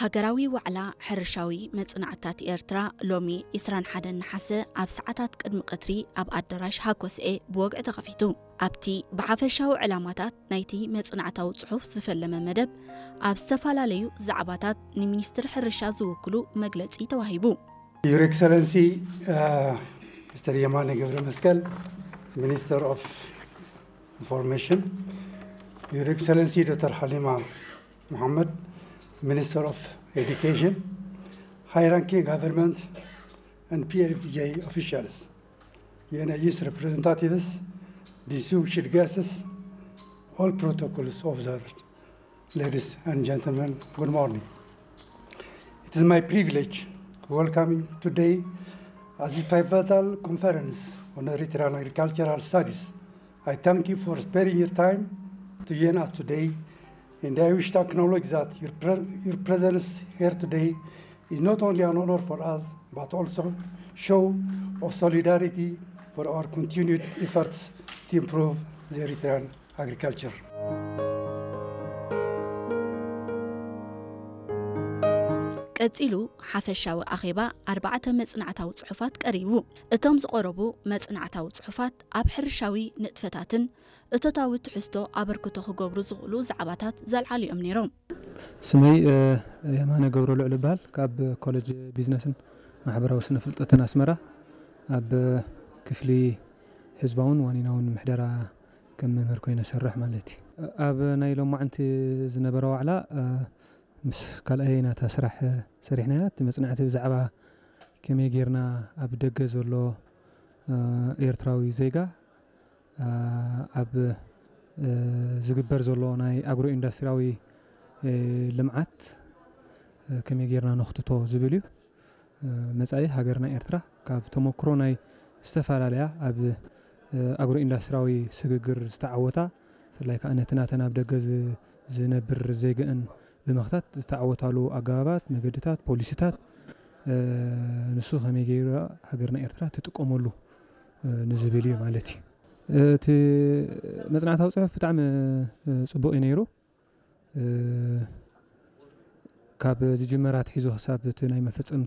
ሃገራዊ ዋዕላ ሕርሻዊ መጽናዕትታት ኤርትራ ሎሚ ዕስራን ሓደን ነሓሰ ኣብ ሰዓታት ቅድሚ ቀትሪ ኣብ ኣዳራሽ ሃኮስኤ ብወግዒ ተኸፊቱ። ኣብቲ ብሓፈሻዊ ዕላማታት ናይቲ መጽናዕታዊ ጽሑፍ ዝፈለመ መደብ፣ ኣብ ዝተፈላለዩ ዛዕባታት ንሚኒስትሪ ሕርሻ ዝውክሉ መግለጺ ተዋሂቡ። Your Excellency, uh, Mister Yamane Gebremeskel, Minister of Information, Your Excellency Doctor Halima Mohammed, Minister of Education, high-ranking government and P F D J officials, U N A Youth representatives, distinguished guests, all protocols observed. Ladies and gentlemen, good morning. It is my privilege to welcome you today at this pivotal conference on Eritrean agricultural studies. I thank you for sparing your time to join us today, and I wish to acknowledge that your, pre- your presence here today is not only an honor for us, but also show of solidarity for our continued efforts to improve the Eritrean agriculture. ቀጺሉ ሓፈሻዊ ኣኼባ ኣርባዕተ መጽናዕታዊ ጽሑፋት ቀሪቡ። እቶም ዝቐረቡ መጽናዕታዊ ጽሑፋት ኣብ ሕርሻዊ ንጥፈታትን እቶታዊ ትሕዝቶ ኣበርክቶ ክገብሩ ዝኽእሉ ዛዕባታት ዘልዓሉ እዮም ነይሮም። ስመይ የማነ ገብረ ልዑል እበሃል። ካብ ኮሌጅ ቢዝነስን ማሕበራዊ ስነ ፍልጠትን ኣስመራ ኣብ ክፍሊ ህዝባውን ዋኒናውን ምሕደራ ከም መምህር ኮይነ ሰርሕ ማለት እዩ። ኣብ ናይ ሎማዓንቲ ዝነበረ ዋዕላ ምስ ካልኣይ ናታ ስራሕ ሰሪሕናያ። እቲ መፅናዕቲ ብዛዕባ ከመይ ጌርና ኣብ ደገ ዘሎ ኤርትራዊ ዜጋ ኣብ ዝግበር ዘሎ ናይ ኣግሮ ኢንዳስትሪያዊ ልምዓት ከመይ ጌርና ነኽትቶ ዝብል እዩ። መጻኢ ሃገርና ኤርትራ ካብ ተመክሮ ናይ ዝተፈላለያ ኣብ ኣግሮ ኢንዳስትሪያዊ ስግግር ዝተዓወታ፣ ብፍላይ ከኣ ነቲ ናተን ኣብ ደገ ዝነብር ዜግአን ብምኽታት ዝተዓወታሉ ኣገባባት፣ መገድታት፣ ፖሊሲታት፣ ንሱ ከመይ ገይሩ ሃገርና ኤርትራ ትጥቀመሉ ንዝብል እዩ ማለት እዩ። እቲ መጽናዕታዊ ጽሑፍ ብጣዕሚ ጽቡቕ እዩ ነይሩ። ካብ ዝጅመር ኣትሒዙ ክሳብ እቲ ናይ መፈጸምታ